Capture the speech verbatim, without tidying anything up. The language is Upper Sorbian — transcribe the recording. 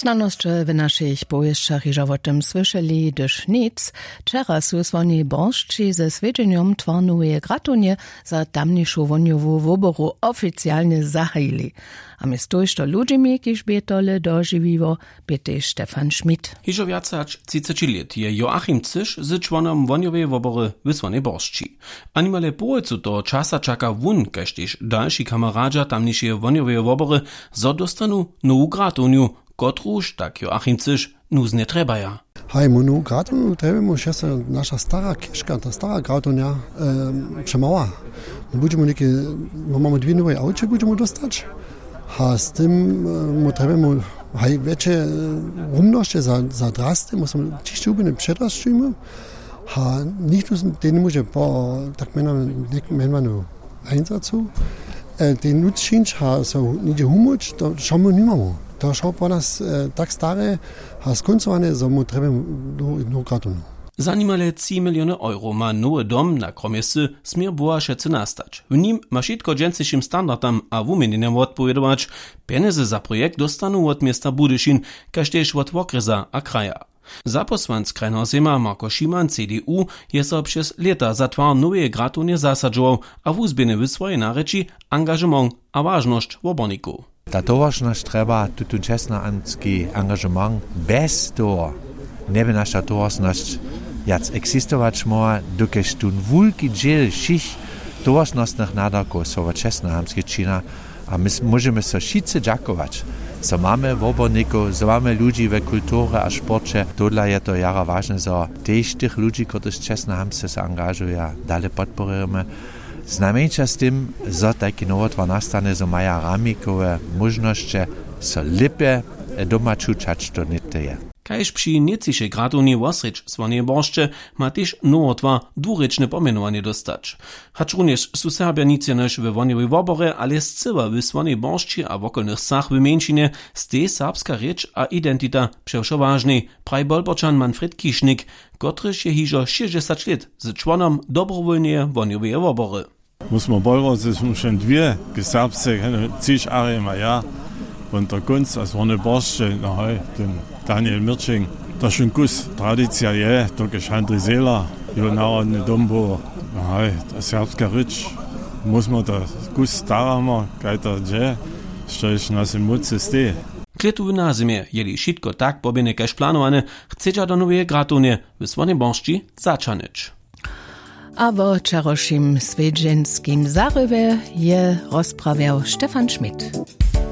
Znanosće w našich powěsćach hižo wo tym słyšeli hdyž nic. Wčera su słoni boršći ze swjedźenjom twarnoweje gratownje za tamnišu wohnjowu woboru oficialnje zahajili. A mjez tójšto ludźimi kiž bě tole dožiwiło, bě tež stefan schmidt. Hižo wjace hač třiceći lět je joachim cyš z čłonom wohnjoweje wobory w słonej boršći. A nimale połojcu toho časa čaka wón kaž tež dalši kameradźa tamnišeje wohnjoweje wobory, zo dóstanu nowu gratownju, kotruž tak joachim cyš nuznje trjebaja. Haj mu nowu gratownu trjebjemu wšesto naša stara kěžka ta stara gratownja, přemała. Budźemu něke, mamy dwě nowej awče budźemu dóstać. A z tym mu trjebjemu haj wjetše rumnosće za drasty mu so ćišće hubjene předrasćujmy. A nichtó tej njemóže po tak mjenowanu einsacu tej nutř čińć a so něhdźe humóć to wšo my nimamy. To wšo po nas tak stare a skóncowane zo mu trjebjemy nowu gratownu. Za nimale tři miliony euro ma nowy dom na kromje sy směr bohašecy nastać. W nim ma wšitko dźensnišim standardam a wuměnjenjam wotpowědować. Pjenjezy za projekt dóstanu wot města budyšin, kaž tež wot wokrjesa a kraja. Zapósłanc krajneho sejma marko šiman cdu je so přez lěta za twar noweje gratownje zasadźował a wuzběhny w swojej narěči angažement a wažnosć wobornikow. Ta towaršnosć trjeba tutón čestnohamtski angažement. Bjez toho njeby naša towaršnosć wjac eksistować móhła, dokelž tón wulki dźěl wšěch towaršnostnych nadawkow so wot čestnohamtske čina. A my móžemy so wšitcy dźakować, zo mamy wobornikow, zo mamy ludźi we kulturje a sporće. Tohodla je to jara wažne, zo tež tych ludźi kotryž čestnohamtske so angažuja, dale podpěrujemy. Znajmjeńša z tym, zo tajki nowotwar nastanje, zo maja ramikowe móžnosće so lěpje doma čuć hač to něhte je. Kaž při nětřišej gratownje wosrjedź słoneje boršće ma tež nowotwar dwurěčne pomjenowanje dóstać. Hačrunjež su serbja nic jenož we wohnjowej woborje ale scyła w słonej boršći a wokolnych wsach w mjeńšinje, stej serbska rěč a identita přewšo wažnej, praji bolporčan manfred kišnik, kotryž je hižo šěsćdźesać lět z čłonom dobrowólneje wohnjoweje wobory. Mósmo bolworcy smy wšeń dwě k serbsce hene třiž arjema ja. Won to kónc a zwony boršće no haj, ten daniel mirčing. To wšeń kus tradicija je to kež handri zela, jo narodny dom było. No haj, ta serbska rěč, mósmo to kus staramo kaj to dźe, štož w našej mócy steji. Klětu w nazymje jeli wšitko tak pobjene kaž planowane, chcedźa do noweje gratownje w słonej boršći zaćahnyć. A wo wčerawšim swjedźenskim zarywje je rozprawjał stefan schmidt.